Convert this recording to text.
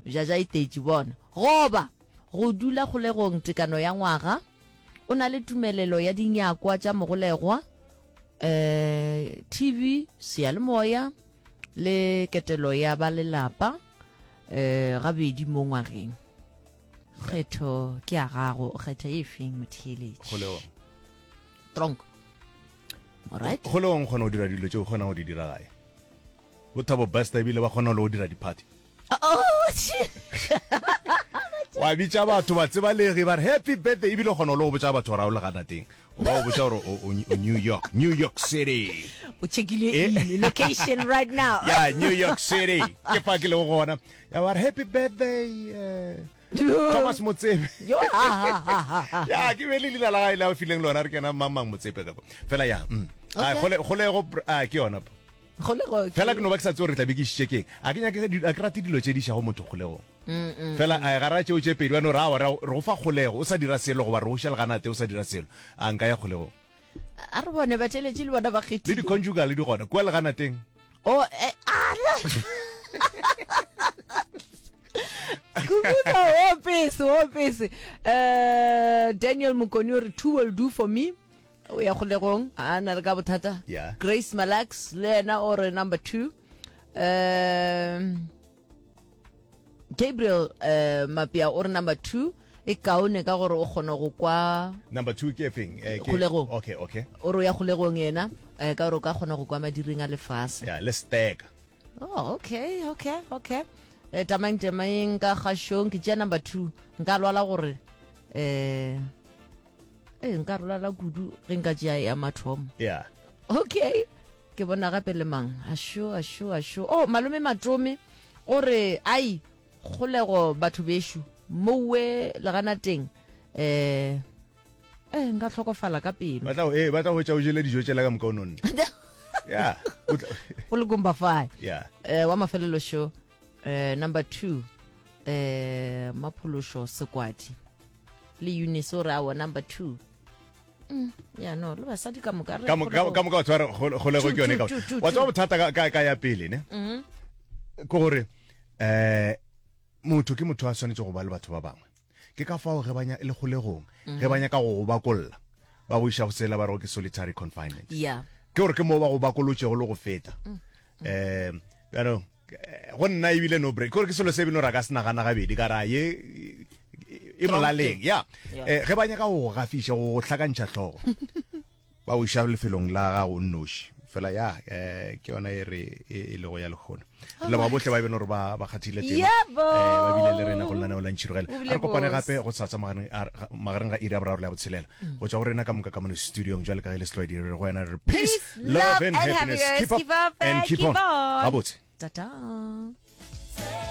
Jaja itetše bona. Goba go dula kgolegong tekano ya ngwaga, o na le tumelelo ya dinyakwa tša mogolegwa, eh, TV, seyalemoya le ketelo ya ba lelapa eh, gabedi mo ngwageng. Kgetho ke ya gago, o kgetha e feng motheeletši? Kgolegong. Tronk. Alright. Kgolegong kgona go dira dilo tše o kgona go di dira gae. Bo Thabo Bester ebile ba kgona le go dira di-party. Oh, wa bitša batho ba tsebalegi ba re happy birthday ebile o kgona le go botša batho gore a o leganateng o ba o botša gore o New York New York City o checkile eh? in location right now yeah New York City ke fa ke lego gona ya ba re happy birthday uh, Thomas Motsepe ya ke be le leina la gae le a fileng lona re kena mang mang Motsepe ka fela ya mm. kgolego ke yona Kgolego ke. Fela ke no ba ke sa tsebe gore ke tla be ke išitše keng. A ke nyake, a ke rate dilo tše di išago motho kgolegong. Fela a gara tšeo tše pedi ba no re aowa, re go fa kgolego o sa dira selo goba re go iša leganate o sa dira selo. A nka ya kgolegong. A re bone batheeletši le bona ba Le kgethile. di-conjugal di gona kua leganateng. Oh, eh, a Kubuka o pese, o pese. Eh, Daniel Mokoni o re two will do for me. O ya kgolegong, a na le ka bothata. Yeah. Grace Malax le yena o re number 2. Um Gabriel uh, Mapia o re number 2 e kaone ka gore o kgona go kwa Number 2 ke efeng? Eh, ke Kgolegong. Okay, okay. o re o ya kgolegong yena eh, ka gore o ka kgona go kwa madiring a lefase. Yeah, le steka. Oh, okay, okay, okay. Eh, tamang temaeng ka kgašong ke tšea number 2 nka lwala gore eh Ee, nka rolala kudu ge nka tšea ya mathomo. Yeah. Okay. Ke bona gape le mang? Asho, asho, asho. Oh, malome Matome o re ai kgolego batho beshu mowe leganateng eh eh nka hlokofala ka pelo. Ba tla eh ba tla hwetša o jele dijo tšela ka moka o nonne. Yeah. Go le gomba fa. Yeah. Eh wa mafelelo sho eh number 2 eh maphološo sekwadi. Le Eunice o re awa number 2. Mm, ya no le basadi ka moka re Ka moka ka moka batho ba re kgolego ke yone ka. Wa tseba bothata ka ka ka ya pele ne. Mhm. Ke gore eh motho ke motho a swanetše go ba le batho ba bangwe. Ke ka fao ge ba nya le kgolegong ge ba nyaka go go bakolla ba go iša go sela ba re ke solitary confinement. Yeah. Ke gore ke mo ba go bakolotšego le go feta. Eh bjanong go nna ebile no break gore ke selo se ebile ra ka se nagana gabedi ka ra ye e molaleng ya eh, ge ba nyaka go go gafiša go go hlakantšha hlogo ba o iša lefelong la gago o nnoši fela ya eh, ke yona e re e, e lego ya lekgono re leboga bohle ba e beno gore ba ba kgathile tema Yebo. eh, ba bile le rena go lenaneo la ntšhirogela O bile a re kopane bose. gape go sasa magareng a- magareng ga iri ya boraro le ya botshelela go tšwa go rena ka moka ka mono studiong jwale ka ge le setlwaedi re go wena re peace Peace, love and happiness keep up and keep on gabotse Ta-ta.